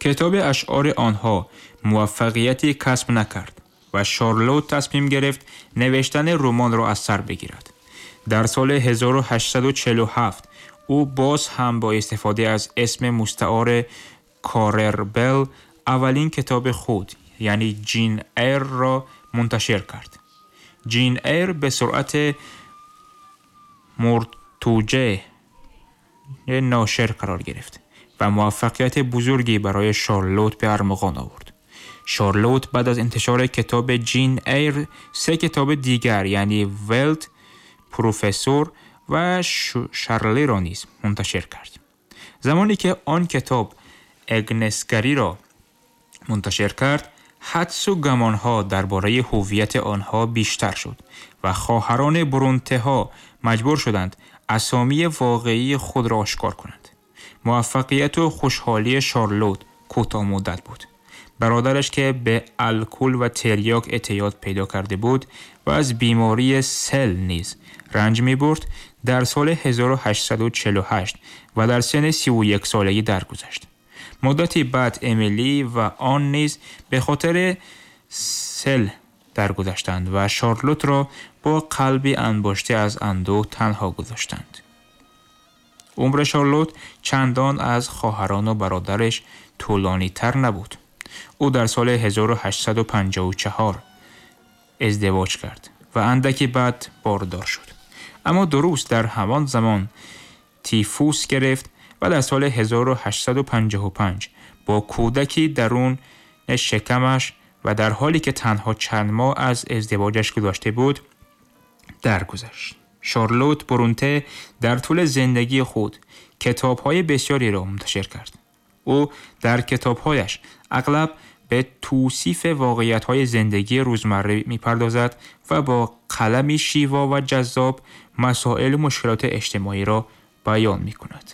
Китоби ашъори онҳо муваффақияте касб накард ва Шарлот тасмим гирифт навиштани романро аз сар бигирад. Дар соли 1847 ӯ боз ҳам бо истифода аз исми мустаори Карер Белл аввалин китоби худ, яъне Ҷин Эйрро мунташир кард. Ҷин Эйр ба суръат муртуҷаи ношир қарор гирифт ва муваффақияти бузурге барои Шарлот ба армуғон овард. Шарлот баъд аз интишори китоби Ҷин Эйр се китоби дигар, яъне Велт, Профессор ва Шарлиро низ мунташир кард. Замоне ки он китоб Агнесгариро мунташир кард, ҳадсу гумонҳо дар бораи ҳувияти онҳо бештар шуд ва хоҳарони Бронтеҳо маҷбур шуданд асомии воқеии худро ошкор кунанд. Муваффақияту хушҳолии Шарлот кӯтоҳмуддат буд. Бародараш ки ба алкал ва терёк эътиёд пайдо карда буд ва аз бемории сил низ ранҷ мебурд, дар соли 1848 ва дар синни 31 солагӣ даргузашт. Муддате баъд Эмили ва Он низ ба хотири сил даргузаштанд ва Шарлотро бо қалби анбошта аз андӯҳ танҳо гузоштанд. Умри Шарлот чандон аз хоҳарону бародараш тӯлонитар набуд. Ӯ дар соли 1854 издивоҷ кард ва андаке баъд бордор шуд. Аммо дуруст дар ҳамон замон тифус гирифт ва дар соли 1855 бо кӯдаки дарун шикамаш ва дар ҳоле ки танҳо чанд моҳ аз издивоҷаш гузашта буд, даргузашт. Шарлот Бронте дар тӯли зиндагии худ китобҳои бисёреро мунташир кард. Ӯ дар китобҳояш ағлаб ба тавсифи воқеиятҳои зиндагии рӯзмарра мепардозад ва бо қалами шево ва ҷаззоб масоилу мушкилоти иҷтимоиро баён мекунад.